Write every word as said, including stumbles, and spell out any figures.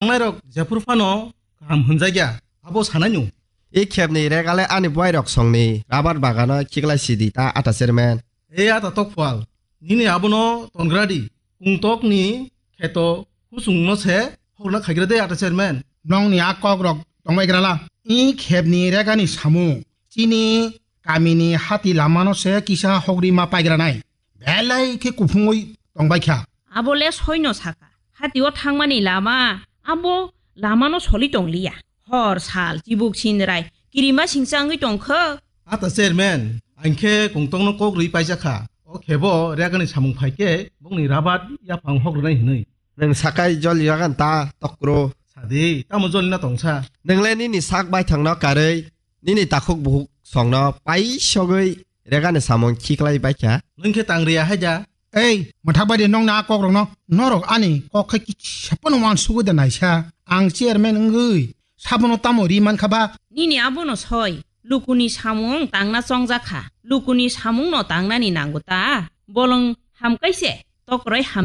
Tongnairok jephuru phano kaham hwnjakya, abo sanai nung. I khepni regale ani boairok songni rabar bagano khiklai sidi ta ata chairman. E ata tokphal, nini abono tongradi, kungtokni kheto husungno se hokna khaigra de ata chairman. Nongni a kokrok tongbai grala. I khepni regani samung chini kamini hati lamano se kisa hokri ma paigranai. Belai khe kuphungwi tongbai kha. Abo le soino saka. Hatio thangmani lama abo lamano soli tongliya. Hor sal chibuk sinrai kirima singsa wngwi tongkha. Ata chairman, ang khe kungtokno kok rwi paijak kha. O khebo regani samung phai khe bongni rabat yaphang hok rwnai hwnwi. Nwng sakai joli ragan ta tokro. Sadi, tamo joli na tongsa? Nwng le nini sak baithangno karwi, nini takhuk bukhuk songno paisogwi regani samung khiklai baikha. Nwng khe tangriya haida? Ei, mwthak bai de nong na kokrokno. Norok ani kok khai kisa phano uansugwi da naisa. Ang chairman wngwi sabono tamo ri mankha ba? Nini abono soi, lukuni samung tangna chongjakha. Lukuni samungno tangnani nango ta? Bolong hamkai se, tokroi ham